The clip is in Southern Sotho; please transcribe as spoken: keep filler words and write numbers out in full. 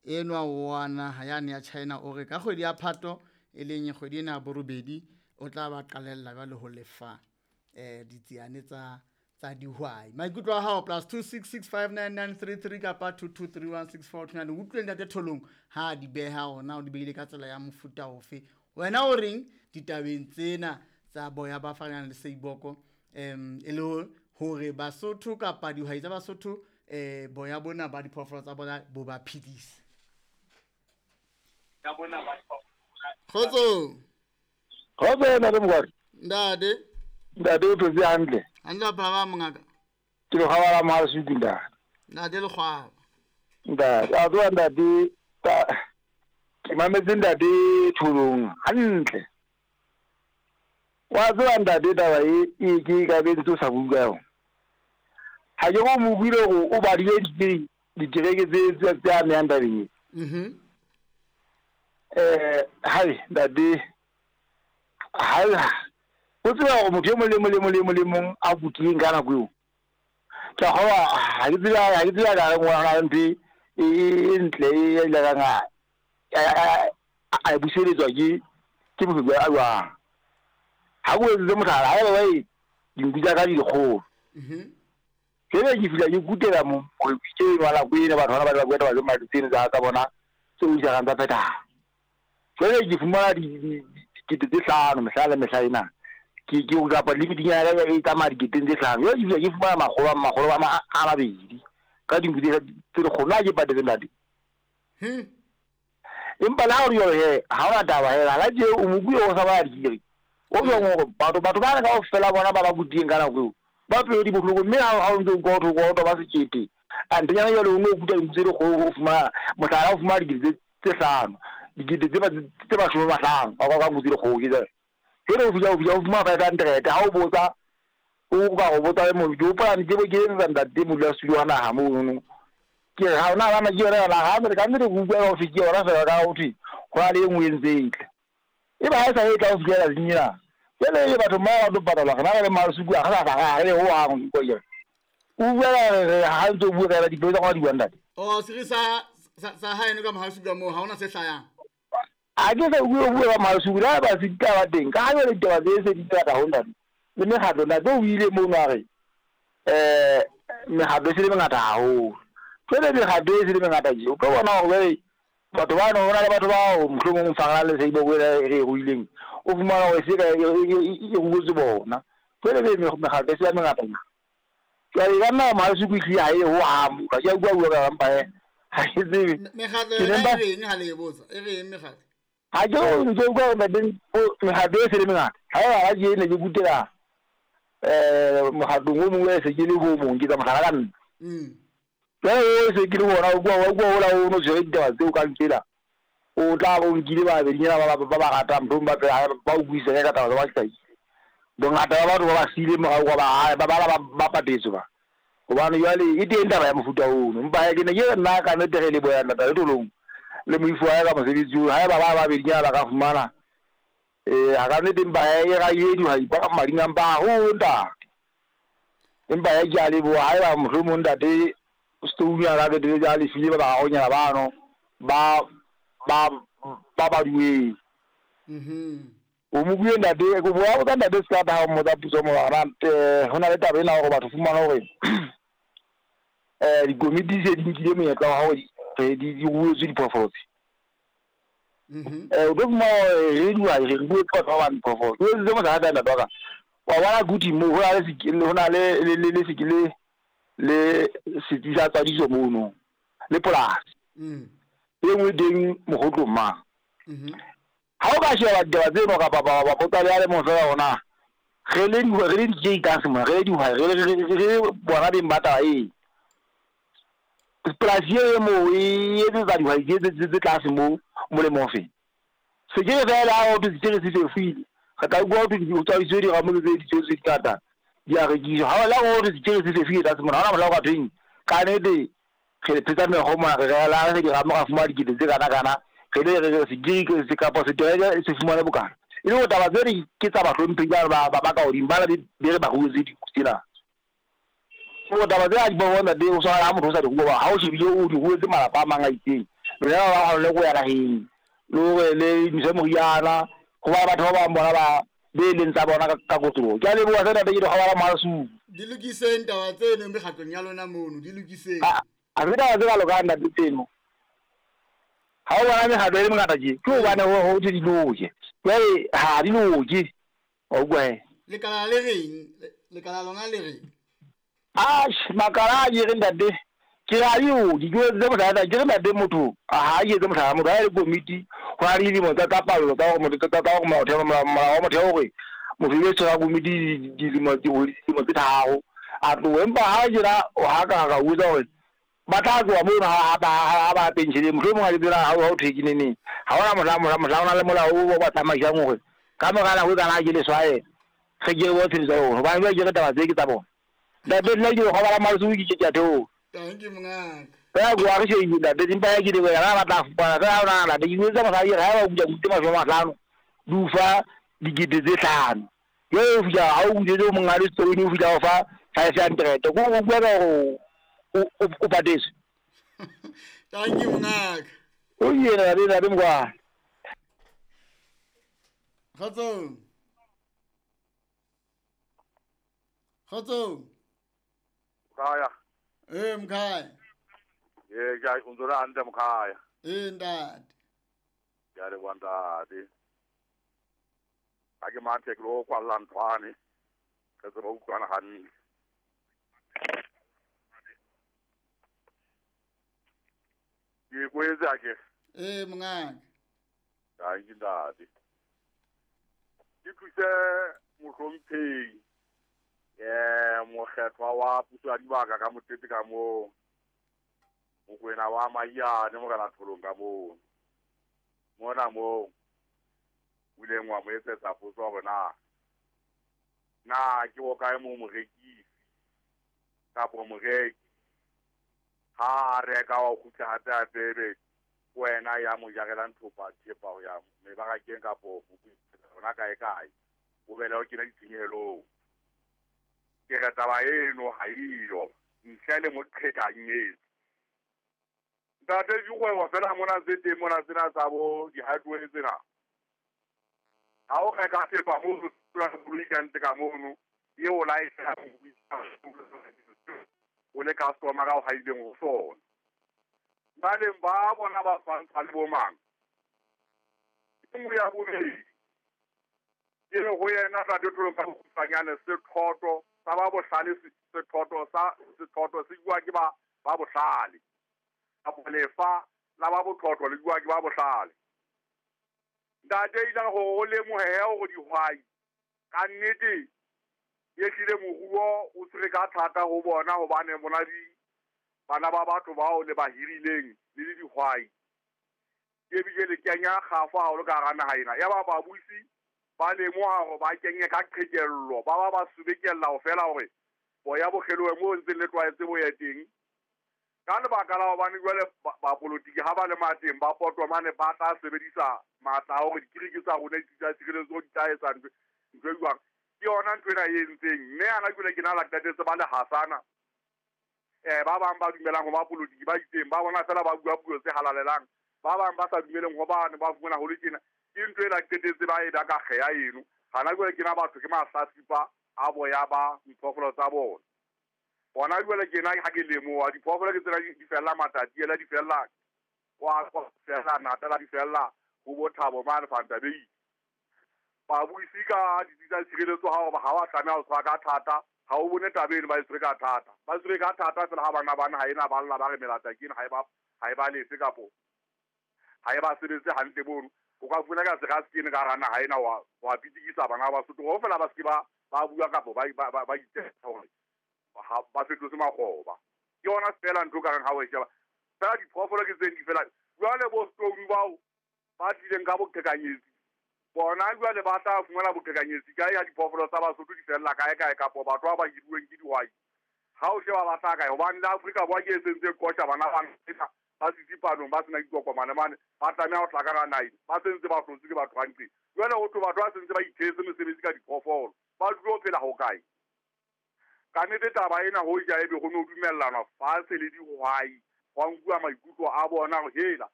Enwa wa naha yane ya China o re ka kgwedi ya Phato e leng kgwedi ena ya borobedi o tla ba qalella jwale ho lefa eh ditsiane tsa tsa dihwai. Maikutlo a hao plus two six six five nine nine three three kapa two two three one six four two nine. Utlwe ntate Tholong ha di beha ona o di behile ka tsela ya mofuta ofe. Wena o reng ditabeng tsena tsa boya ba fanang le Seiboko em e le hore Basotho kapa dihwai tsa Basotho eh boya bona ba diphoofolo tsa bona bo ba phedise. Kgotso. Kgotso ntate Mokwari. Ntate. Ntate o phetse hantle. Hantle ba mongaka. Ke le kgwaba la Mahasuku ntate. Ntate le kgwaba. Ntate, a tloha ntate ke mametse ntate Tholong hantle. Wa tseba ntate taba e e ke ka be ntse o sa bua ka yona. Ha ke go mo buile gore o badile ditereke tse tse amehang tabeng e. Mhm. Eh hai ntate ha o tseba gore motho e mong le mong le mong le mong le mong a kutileng ka nako eo. Ke a kgolwa ha ke tsebe ha ke tsebe ka re ngwana ntho e e ntle e ile ka nga a buseletswa ke ke motho a jwang. Ha go etse mohlala ha ba e dinku tsa ka di dikgolo. Mhm. Jwale ke fihla ke kutela mo ke ngwana ko ene batho bana ba ba kweta ba le tsene tsa tsa bona tse o jaang tsa phetha. Jwale ke fumana di dikete tse hlano mehla le mehla ena. Ke ke o kapa le dinyana e tsamaya diketeng tse hlano. Jwale ke fihla ke fumana makgolo a makgolo a a mabedi ka dinku tse tse dikgolo na ke patetse ntate. Hmm. Empa le ha o re jwalo he ha ona taba he la tje o mo bue o sa ba dikere. O jwang hore batho batho ba kaofela bona ba ba kutileng ka nako eo ba pelo di bohloko mme ha o ntse o utlwa ho thwe ba sekete. A ntenyana jwale o no kuta dinku tse dikgolo o fumana mohlala o fumana dikete tse hlano dikete tse tse mashome a mahlano ka ka nku tse dikgolo ke jwale. Jwale o fihla o fihla o fumana five hundred ha o botsa o ka go botsa le motho ke hopola ke be ke etsa ntate modulasetulo wa naha mono. Ke re ha ona bana ke yona yona ha re ka nnete ke utlwa ho thwe ke yona fela ka ho thwe ho na le e nngwe e ntse e tla. Eba ha e sa e tla ho fihlela lenyana. Jwale e batho ba ba tlo patalwa rena re le Mahasuku ha re sa re le hohang ko ke. O bua re ha ntse o bua ka dipelo tsa rona di bua ntate. Oh siri sa sa haeno ka Mahasuku mo ha ona se hlayang. A ke sa bua bua ka Mahasuku la ba se ditaba teng ka ha jwale ditaba tse se di tla ho ntate. Le mekgatlo ntate o ile mono a re eh mekgatlo e se le mengata haholo. Jwale mekgatlo e se le mengata tje o tlo bona hore batho ba no hona le batho bao mohlomong fangala le Seiboko e re ruileng o fumana hore se ka e ruetse bona. Jwale be mekgatlo e se mengata. Jwale ka nna Mahasuku ehlile ha e ho hang ka ke a bua bua ka mpa he ha ke tsebe. Mekgatlo e reng ha le e botsa e reng mekgatlo? Ha ke o ntse o bua ntate mekgatlo e se le mengata. Ha e ha ke ne ke kutela eh mokgatlong o mongwe se ke le ho mong ke tsa mohlala ka nna. Mm. Jwale o se ke le bona o bua o bua ola o no tshwere ditaba tseo ka ntsela. O tla bo nkile ba bedinyana ba ba ba ratang mohlomong ba ba o buisane ka taba tsa ba bongata ba batho ba ba siile morao kwa ba ba ba ba patetswe ba. Hobane jwale e teng taba ya mofuta ono. Empa ke ne ke nna ka nnete re le boya ntate Tholong le moifo wa ka mosebetsi oo haeba ba ba bedinyana ba ka fumana eh ha ka nnete empa e ra e dihwai ba ka mading a mpa haholo ntate. Empa ya ke a leboha haeba mohlomong ntate Stone a ka ke ja le file ba ba honyana bano ba ba ba ba duwe. Mhm. O mo bue ntate go bua botsa ntate se ka ba mo tsa puso mo ra eh hona le taba ena hore batho fumana hore eh dikomiti se di nkile monyetla wa hore di di ruetswe diphoofolo tse. Mhm. Eh o tlo fumana re dihwai re ruetse batho ba bang diphoofolo. O etse mohlala ntate wa ka. Wa bona kuthi mo ho na le sekele ho na le le le sekele le setsi sa tswadiso mono le polasi. Mm. E nngwe teng mogotlong mang. Mhm. Ha o ka sheba ditaba tseno kapa ba ba botsa le a le mong fela hona re le dihwai re le di-j mona re le dihwai re le bona beng ba taba e. Polasi e mo e etsetsa dihwai tse tse tlase mo molemo ofe. Sekere fela ha o thwe sekere se fefile re tla utlwa ho thwe ho tswadiswe diramo tse di tse di ngata di a rekiswa. Ha la ho thwe sekere se fefile tlase mona ha hona mohla o ka thweng ka nnete re phetsa mekgwa mona re la re diramo ra fumana dikete tse kana kana re le re sekere se kapa setereke se fumane bokana. E le hore taba tse ke tsa bahlomphehi ba ba ba ka hodimo ba be re ba ruetse dinku tsena. Taba tse a di bona ntate o tshwana le ha motho o sa di rua ha o shebile o di ruetse malapa a mang a itseng. Lona ba bang le go ya naheng le hore le ntshe moriana ho ba batho ba bang bona ba be leng tsa bona ka kotloloho. Ke a leboha se ntate ke dikgobala Malasuku. Di lokiseng taba tseno mekgatlong ya lona mono, di lokiseng. Ha se taba tse ka lokang ntate tseno. Ha o bona mekgatlo e le mengata tje, ke hobane ho thwe di loke. Jwale ha di loke. Wa utlwa he? Lekala le reng? Lekala lona le reng? Atjhe, makala a ke re ntate, ke re ha di loke. Ke etse mohlala, ke re ntate motho ha ke etse mohlala, motho ha e le komiti ho na le dilemo tsa tsa pallo tsa hore motho tsa hore molaotheo molao wa motheo hore motho e tshwara komiti dilemo dilemo tse tharo a tlohe. Empa ha tjena ha ka ka utlwa hore ba tla tloha mono ha ba ha ba pensheleng, mohlomong ha ke tsela ha ho thwe ke neneng. Ha hona mohla mohla mohla ho na le molao o ba tsamaisang hore ka mora nako e kana ke leswae re ke re bo tshebetso ya rona. Hobane jwale ke re taba tse ke tsa bona. Ntate nna ke kgobala Malasuku ke ke a theoha. Thank you mongaka. Ka go a re shebile ntate empa ya ke le wena ba tla fupana ka ha ona ntate ke etsa mosadi ha ba kuja kute mashome a mahlano di o fa dikete tse hlano. Jwale o fihla ha o kgutletse o monga le stone o fihla o fa five hundred. Ko o bua ka hore o o patetswe. Thank you mongaka. O yena ntate ntate mokwana. Kgotsong. Kgotsong. Mkhaya. Eh mkhaya. Eh ke o ntse hantle mkhaya. Eh ntate. Ke a leboha ntate. Ha ke mathe ke lo kwalla nthwane. Re tsebe ho utlwana hantle. Ke kwetse a ke. Eh mongaka. Thank you ntate. Ke thuse mohlomphehi eh mokgethwa wa puso ya dibaka ka motete ka moo Mokwena wa Maiyane morena Tholong ka moo mona moo o ileng wa mo etsetsa potso hore na na ke bokae moo morekisi kapo moreki ha a reka wa kgutla hape hape ebe wena ya mo jarelang thopa thepa ho ya mebarakeng kapo hona kae kae o bela o kena ditshenyehelong. Ke re taba eno ha eyo ntle le moqhekanyetsi. Ntate dikgwebo fela mona tse teng mona tsena tsa bo di-hardware tsena ha o reka thepa moo koloi ka ntle ka mono eo laetsa o le customer ka o haileng ho sona. Baleng ba bona ba fantsha le bo mang. E nngwe ya bobedi ke re ho yena ntate Tholong ka bokgutshwanyane sethoto sa ba bohlale sethoto sa sethoto se bua ke ba ba bohlale kapo lefa la ba botlotlo le bua ke ba bohlale. Ntate ile hore o lemohehe hore dihwai ka nnete e hlile moruo o tshwere ka thata ho bona hobane bona di bana ba batho bao le ba hirileng le le dihwai ke ebile le kenya kgafo haholo ka hara naha ena. Ya ba babusi ba lemoha hore ba kenye ka qhekello ba ba ba subekella ho fela hore boya bo kgelohe moo ntseng le tlwaetse bo ye teng. Ka lebaka la hobane jwale bapolotiki ha ba le mateng ba potwa mane ba tla sebedisa matla a hore dikiriki tsa rona di tsa tshireletso di tla etsa ntho ntho e jwang. Ke yona ntho ena e entseng mme ana jwale ke na la qetetse ba le hasana eh ba bang ba dumelang ho bapolotiki ba itseng ba bona fela ba bua puo tse halalelang ba bang ba sa dumeleng ho bane ba fumana ho le tjena ke ntho ena qetetse ba e ba ka kgeya eno. Hana jwale ke na batho ke mahlatsipa a boya ba diphoofolo tsa bona. Bona jwale ke na ha ke lemoha diphoofolo ke tsena di fella Matatiele di fella kwa kwa fella Natala di fella ho bo Thabo mane Fantabei. Babuisi ka ditsi tsa tshireletso ha ba ha wa tlameha ho tshwara ka thata ha o bone taba eno ba e tshwere ka thata ba tshwere ka thata fela ha bana bana ha ena ba lla ba re melata ke ena ha e ba ha e ba lefe kapo ha e ba sebetse hantle bono o ka fumana ka sera se kene ka hara naha ena wa wa pitikisa bana ba Basotho kaofela ba se ke ba ba bua kapo ba ba ba itsetsa hore ha ba fetotse makgoba. Ke yona fela ntho ka reng ha o e sheba fela diphoofolo ke tse di fela jwale bo stone bao ba tlileng ka boqhekanyetsi bona jwale ba tla fumana boqhekanyetsi kae ya diphoofolo tsa Basotho di fella kae kae kapo batho ba ba hiruweng ke dihwai ha o sheba ba tla kae hobane le Afrika Borwa ke e sentse kotjha bana ba ena ba sisipanong ba sena ditokomane mane ba tlameha ho tla ka hara naha ba sentse ba hlotswe ke batho hantle. Jwale ho thwe batho ba sentse ba ithetse mesebetsi ka diphoofolo ba dule ho phela ho kae. Ka nnete taba ena ho ja ebe ho no dumellanwa fatshe le dihwai hwa nkuwa maikutlo a bona hore hela